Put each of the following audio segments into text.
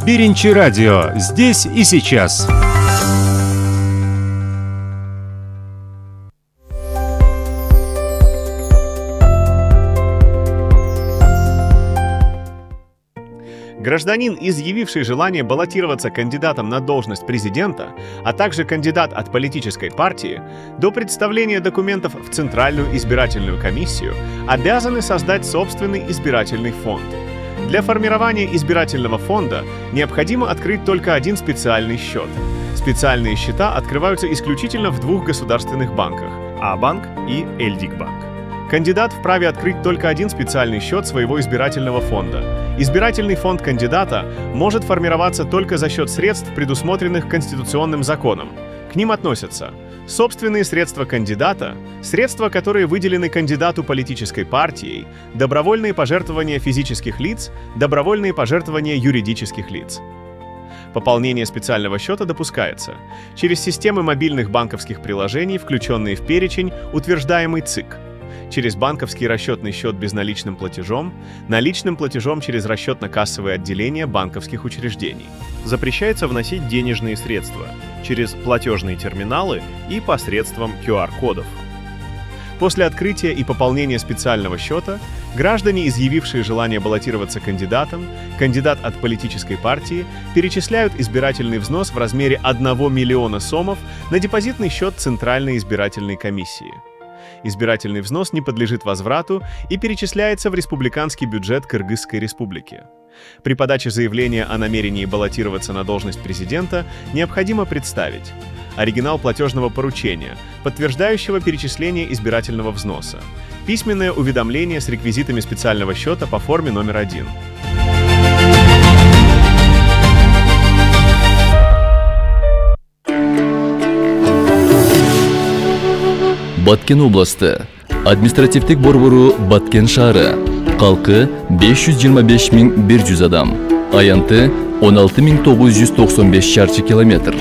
Биринчи радио. Здесь и сейчас. Гражданин, изъявивший желание баллотироваться кандидатом на должность президента, а также кандидат от политической партии, до представления документов в Центральную избирательную комиссию обязаны создать собственный избирательный фонд. Для формирования избирательного фонда необходимо открыть только один специальный счет. Специальные счета открываются исключительно в двух государственных банках – А-банк и Эльдикбанк. Кандидат вправе открыть только один специальный счет своего избирательного фонда. Избирательный фонд кандидата может формироваться только за счет средств, предусмотренных Конституционным законом. К ним относятся собственные средства кандидата, средства, которые выделены кандидату политической партией, добровольные пожертвования физических лиц, добровольные пожертвования юридических лиц. Пополнение специального счета допускается через системы мобильных банковских приложений, включенные в перечень, утверждаемый ЦИК, через банковский расчетный счет безналичным платежом, наличным платежом через расчетно-кассовые отделения банковских учреждений. Запрещается вносить денежные средства через платежные терминалы и посредством QR-кодов. После открытия и пополнения специального счета граждане, изъявившие желание баллотироваться кандидатом, кандидат от политической партии, перечисляют избирательный взнос в размере 1 миллиона сомов на депозитный счет Центральной избирательной комиссии. Избирательный взнос не подлежит возврату и перечисляется в республиканский бюджет Кыргызской республики. При подаче заявления о намерении баллотироваться на должность президента необходимо представить оригинал платежного поручения, подтверждающего перечисление избирательного взноса, письменное уведомление с реквизитами специального счета по форме номер 1. Баткен областы. Административдик борбору Баткен шаары. Калкы 525.100 адам. Аянты 16.995 шарчы километр.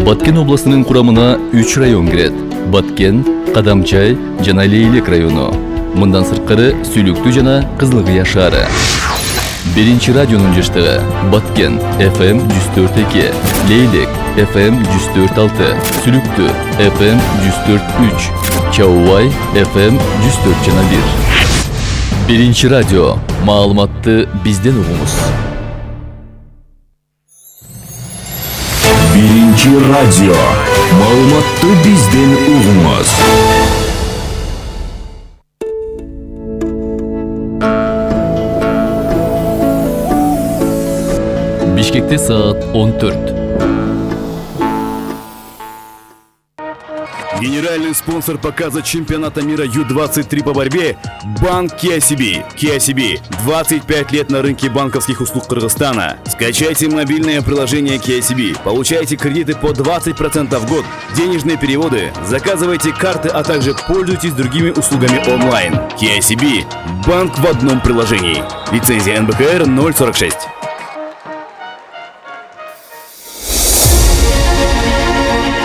Баткен областынын курамына 3 район кирет. Баткен, Кадамчай жана Лейлек району. Мындан сырткары Сүлүктүү жана Кызылкыя шаары. Биринчи радионун жаштыгы Баткен FM 104.2, Лейлек FM 104.6, Сүлүктүү FM 104.3, Чаубай FM 104.1. Биринчи радио. Маалыматты бизден угуңуз. Биринчи радио. Маалыматты бизден угуңуз. Бишкекте саат 14. Генеральный спонсор показа чемпионата мира Ю-23 по борьбе – Банк KCB. KCB – 25 лет на рынке банковских услуг Кыргызстана. Скачайте мобильное приложение KCB, получайте кредиты по 20% в год, денежные переводы, заказывайте карты, а также пользуйтесь другими услугами онлайн. KCB – банк в одном приложении. Лицензия НБКР 046.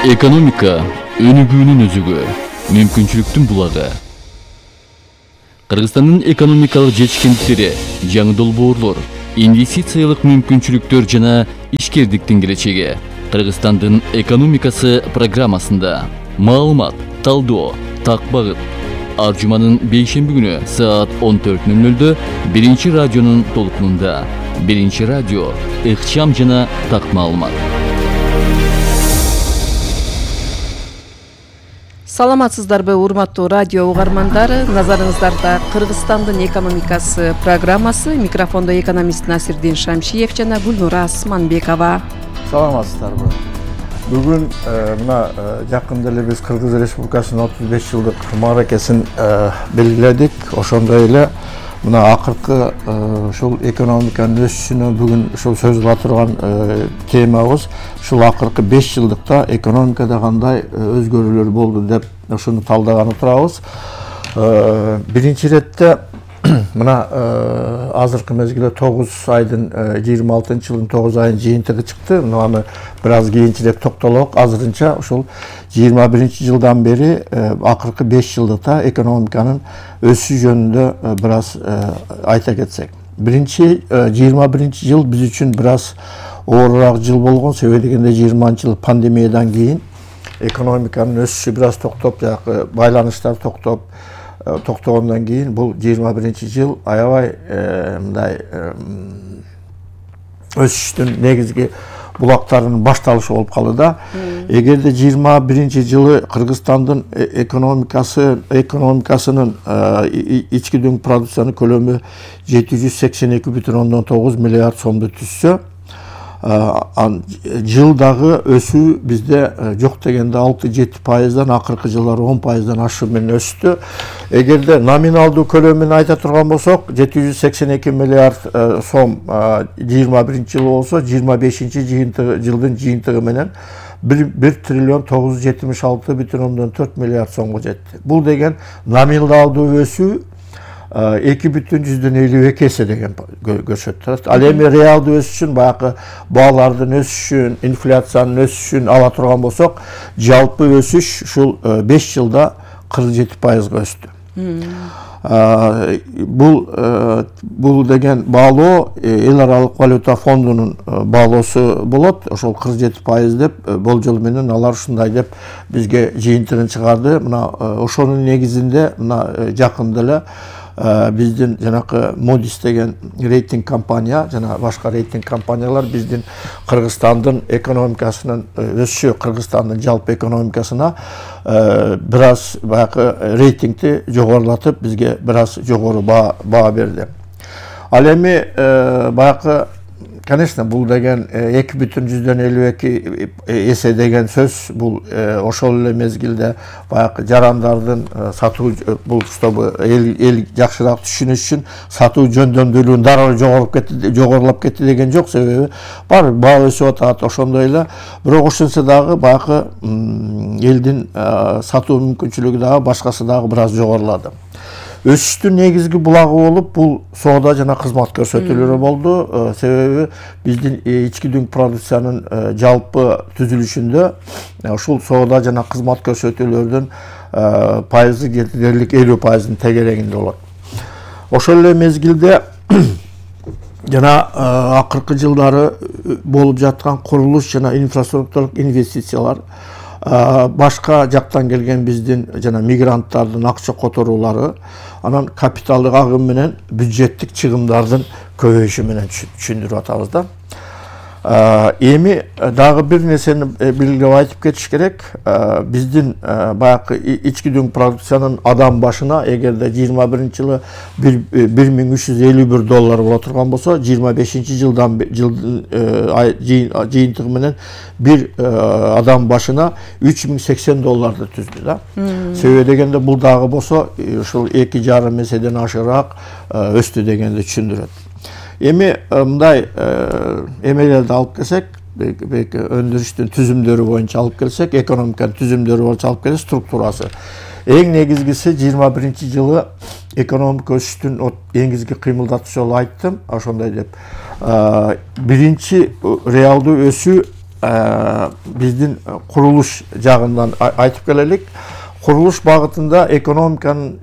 Экономика өнүгүүнүн өзүгө, мүмкүнчүлүктүн булагы. Кыргызстандын экономикалык жетишкендиктери, жаңы долбоорлор, инвестициялык мүмкүнчүлүктөр жана ишкердиктин келечеги. Кыргызстандын экономикасы программасында маалымат, талдоо, так багыт. Ар жуманын бейшемби күнү саат 14:00 биринчи радионун толкунунда. Биринчи радио, ыкчам жана так маалымат. Саламатсыздарбы, урматтуу радио угармандары? Назарыңыздарда Кыргызстандын экономикасы программасы. Микрофондо экономист Насирдин Шамшиев жана Гүлнура Асманбекова. Саламатсыздарбы. Бүгүн мына жакында эле биз Кыргыз Республикасынын 35 жылдык мааракесин белгиледик. Ошондой эле мына акыркы ушул экономиканын өсүшүнө бүгүн ушул сөз кыла турган темабыз ушул акыркы 5 жылдыкта экономикада кандай өзгөрүүлөр болду деп ошону талдаган отурабыз. Биринчи иретте мына азыркы мезгилде 9 айдын 26 жылдын 9 айынын жыйынтыгы чыкты. Муну бир аз кийинчерээк токтолок. Азырынча ушул 21 жылдан бери акыркы 5 жылдыкта экономиканын өсүшү жөнүндө бир аз айта кетсек. 21 жыл биз үчүн бир аз оорураак жыл болгон. Себеби дегенде 20-жыл пандемиядан кийин экономиканын өсүшү бир аз токтоп, жанагы байланыштар токтогондон кийин бул 21 жыл аябай мындай өсүштүн негизги булактарынын башталышы болуп калды да. Эгерде 21 жылы Кыргызстандын экономикасынын ички дүң продукциянын көлөмү 782,9 миллиард сомду түзсө, жылдагы өсүү бизде жок дегенде 6-7%, акыркы жылдары 10% ашуу менен өстү. Эгерде номиналдуу көлөмүн айта турган болсок, 782 миллиард сом 21 жыл болсо, 25-жылдын жыйынтыгы менен 1,976,4 миллиард сомго жетти. Бул деген номиналдуу өсүү 2,52 эсе деген көрсөттү. Ал эми реалдуу өсүшүн, баягы баалардын өсүшүн, инфляциянын өсүшүн ала турган болсок, жалпы өсүш ушул 5 жылда 47%га өстү. Бул деген баалоо эл аралык валюта фондунун баалоосу болот. Ошол 47% деп болжол менен алар ушундай деп бизге жыйынтыгын чыгарды. Мына ошонун негизинде мына жакында эле биздин жанакы Moody's деген рейтинг компания жана башка рейтинг компаниялар биздин Кыргызстандын экономикасынын өсүшү, Кыргызстандын жалпы экономикасына бир аз баягы рейтингти жогорулатып, бизге бир аз жогору баа берди. Ал эми баягы, конечно, бул деген 2,52 эсе деген сөз, бул ошол эле мезгилде баягы жарандардын сатуу, бул чтобы эл жакшыраак түшүнүш үчүн сатуу жөндөмдүүлүгүн дароо жогорулап кетти деген жок. Себеби бар баа өсүп атат, ошондой эле. Бирок ошентсе дагы баягы элдин сатуу мүмкүнчүлүгү дагы башкасы дагы бир аз жогорулады. Өсүштүн негизги булагы болуп бул соода жана кызмат көрсөтүүлөрү болду. Себеби биздин ички дүң продукциянын жалпы түзүлүшүндө ушул соода жана кызмат көрсөтүүлөрдүн пайызы дерлик 50%-ын тегерегинде болот. Ошол эле мезгилде жана акыркы жылдары болуп жаткан курулуш жана инфраструктуралык инвестициялар, башка жактан келген биздин жана мигранттардын акча которуулары, анан капиталдык агым менен бюджеттик чыгымдардын көбөйүшү менен түшүндүрүп атабыз да. Эми дагы бир нерсени белгилеп айтып кетиш керек. Биздин баягы ички дүң продукциянын адам башына эгерде 21 жылы $1,351 боло турган болсо, 25-жылдан жыйынтыгы менен бир адам башына $3,080 түздү да. Себеби дегенде бул дагы болсо ушул 2,5 эседен ашыраак өстү дегенди түшүндүрөт. Эми мындай эмелерди алып келсек, өндүрүштүн түзүмдөрү боюнча алып келсек, экономиканын түзүмдөрү боюнча алып келсек, структурасы. Эң негизгиси 21 жылы экономика өсүштүн негизги кыймылдатуучу жолу айттым, ошондой деп. Биринчи реалдуу өсүү биздин курулуш жагынан айтып келелик. Курулуш багытында экономиканын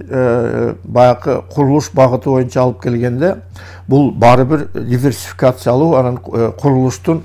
баягы курулуш багыты боюнча алып келгенде бул баары бир диверсификациялуу, анан курулуштун